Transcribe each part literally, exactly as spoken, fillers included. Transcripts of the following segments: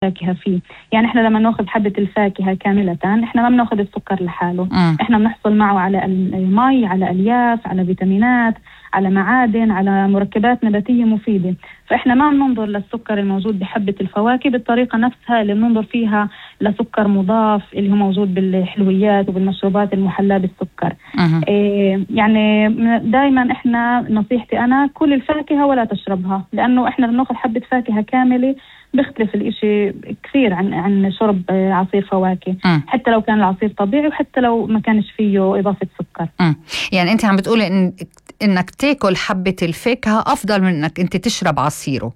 فاكهة فيه. يعني احنا لما ناخذ حبة الفاكهة كاملة احنا ما بناخذ السكر لحاله، م. احنا بنحصل معه على المي، على الياف، على فيتامينات، على معادن، على مركبات نباتية مفيدة. فاحنا ما بننظر للسكر الموجود بحبة الفواكه بالطريقة نفسها اللي بننظر فيها لسكر مضاف اللي هو موجود بالحلويات وبالمشروبات المحلاة بالسكر. إيه يعني دايما احنا نصيحتي انا كل الفاكهة ولا تشربها، لانه احنا بناخذ حبة فاكهة كاملة بيختلف الاشي كثير عن عن شرب عصير فواكه، م. حتى لو كان العصير طبيعي وحتى لو ما كانش فيه إضافة سكر. م. يعني أنت عم بتقولي إن إنك تاكل حبة الفاكهة أفضل من إنك أنت تشرب عصيره.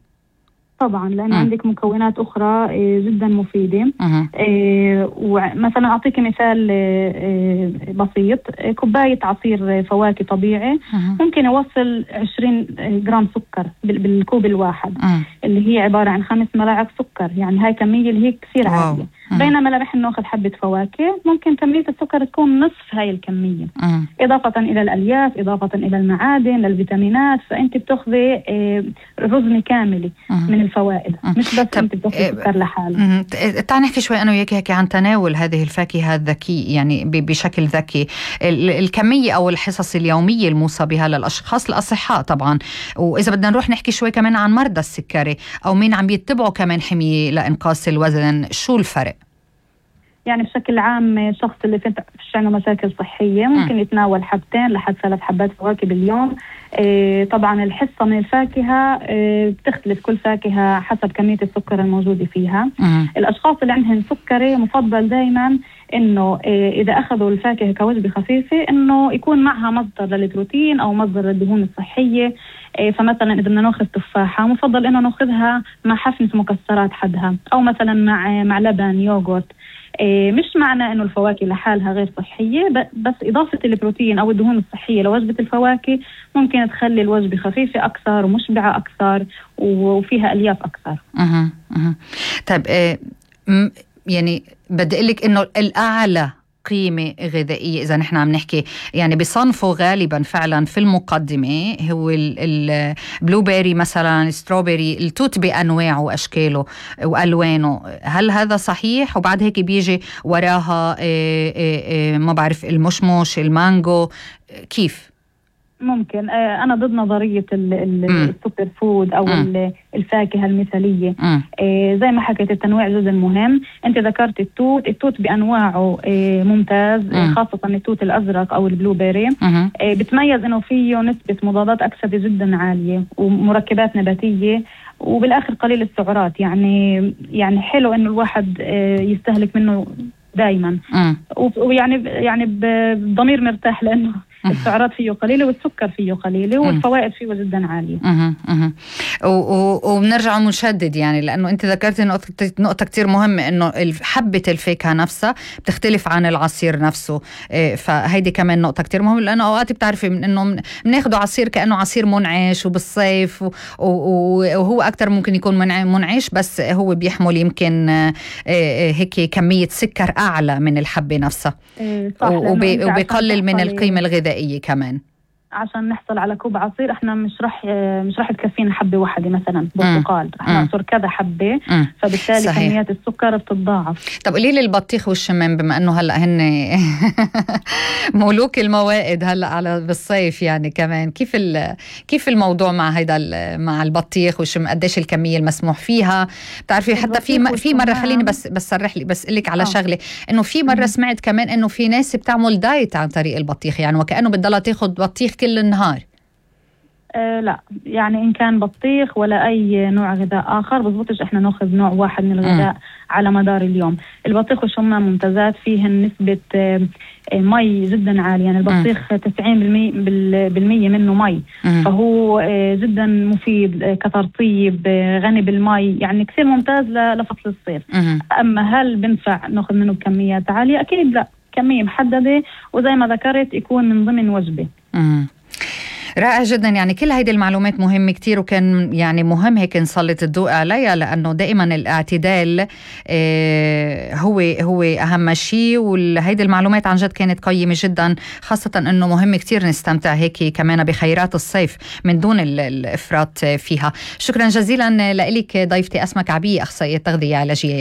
طبعا لأن عندك مكونات أخرى جدا مفيدة. إيه ومثلا أعطيك مثال إيه بسيط، كوباية عصير فواكه طبيعي أه. ممكن يوصل عشرين جرام سكر بالكوب الواحد، أه. اللي هي عبارة عن خمس ملاعق سكر. يعني هاي كمية اللي هي كثير عالية. أه. بينما لما نحن ناخذ حبة فواكه ممكن كمية السكر تكون نصف هاي الكمية، أه. إضافة إلى الألياف، إضافة إلى المعادن، للفيتامينات. فأنت بتاخذي إيه رزمة كاملة أه. من الفوائد، مش بس انت بتاخذ سكر لحاله. تعال نحكي شوي انا وياك هيك عن تناول هذه الفاكهه الذكي، يعني بشكل ذكي. الكميه او الحصص اليوميه الموصى بها للاشخاص الاصحاء طبعا، واذا بدنا نروح نحكي شوي كمان عن مرضى السكري او مين عم يتبعوا كمان حميه لانقاص الوزن، شو الفرق؟ يعني بشكل عام الشخص اللي فيش عنده مشاكل صحية ممكن م. يتناول حبتين لحد ثلاث حبات فواكه باليوم. إيه طبعا الحصة من الفاكهة إيه بتختلف كل فاكهة حسب كمية السكر الموجودة فيها. م. الأشخاص اللي عندهم سكري مفضل دايما إنه إيه إذا أخذوا الفاكهة كوجبة خفيفة إنه يكون معها مصدر للبروتين أو مصدر للدهون الصحية. إيه فمثلا إذا بدنا ناخذ تفاحة مفضل إنه ناخذها مع حفنة مكسرات حدها، أو مثلا مع مع لبن يوغورت. إيه مش معنى إنه الفواكه لحالها غير صحية، بس إضافة البروتين أو الدهون الصحية لوجبة الفواكه ممكن تخلي الوجبة خفيفة أكثر ومشبعة أكثر وفيها ألياف أكثر. أه أه. طيب إيه يعني بدي أقول لك إنه الأعلى قيمة غذائية إذا نحن عم نحكي يعني بصنفه غالبا فعلا في المقدمة هو البلو بيري مثلا، ستروبيري، التوت بأنواعه وأشكاله وألوانه. هل هذا صحيح؟ وبعد هيك بيجي وراها إيه إيه إيه ما بعرف المشمش، المانجو، كيف؟ ممكن أنا ضد نظرية السوبر فود أو م. الفاكهة المثالية. إيه زي ما حكيت التنويع جدا مهم. أنت ذكرت التوت، التوت بأنواعه إيه ممتاز، م. خاصة التوت الأزرق أو البلو بيري. إيه بتميز إنه فيه نسبة مضادات أكسدة جدا عالية ومركبات نباتية، وبالآخر قليل السعرات. يعني يعني حلو إنه الواحد إيه يستهلك منه دائما، ويعني يعني بضمير مرتاح لأنه السعرات فيه قليلة والسكر فيه قليلة والفوائد فيه جدا عالية. أه أه. وبنرجع ونشدد يعني لأنه أنت ذكرت نقطة نقطة كتير مهمة، إنه حبة الفاكهة نفسها بتختلف عن العصير نفسه. فهيدي كمان نقطة كتير مهمة، لأنه أوقات بتعرفي إنه بناخده عصير كأنه عصير منعش وبالصيف، وهو أكتر ممكن يكون منعش بس هو بيحمل يمكن هيك كمية سكر أعلى من الحبة نفسها، وبيقلل من القيمة الغذائية كمان. عشان نحصل على كوب عصير احنا مش رح مش رح تكفينا حبه واحده مثلا برتقال، رح نعصر كذا حبه، فبالتالي صحيح. كميات السكر بتتضاعف. طب قولي لي البطيخ والشمام، بما انه هلا هن مولوك الموائد هلا على بالصيف يعني كمان، كيف كيف الموضوع مع هيدا مع البطيخ والشمام؟ قديش الكميه المسموح فيها؟ بتعرفي حتى في في مره خليني بس بس صرح لي بس لك على آه. شغله، انه في مره سمعت كمان انه في ناس بتعمل دايت عن طريق البطيخ، يعني وكانه بتضلها تاخذ بطيخ كل النهار. أه لا يعني إن كان بطيخ ولا أي نوع غذاء آخر بزبطش إحنا نأخذ نوع واحد من الغذاء م. على مدار اليوم. البطيخ والشمام ممتازات، فيهن نسبة مي جدا عالية. يعني البطيخ تسعين بالمية منه مي، م. فهو جدا مفيد كترطيب، غني بالمي، يعني كثير ممتاز لفصل الصيف. م. أما هل بنفع نأخذ منه بكميات عالية؟ أكيد لا، كمية محددة وزي ما ذكرت يكون من ضمن وجبة. م. رائع جدا. يعني كل هيدي المعلومات مهمة كتير، وكان يعني مهم هيك نسلط الضوء عليها، لأنه دائما الاعتدال اه هو هو أهم شيء. وهيدي المعلومات عن جد كانت قيمة جدا، خاصة أنه مهم كتير نستمتع هيك كمان بخيرات الصيف من دون الإفراط فيها. شكرا جزيلا لك ضيفتي أسماء كعبية، أخصائية تغذية علاجية.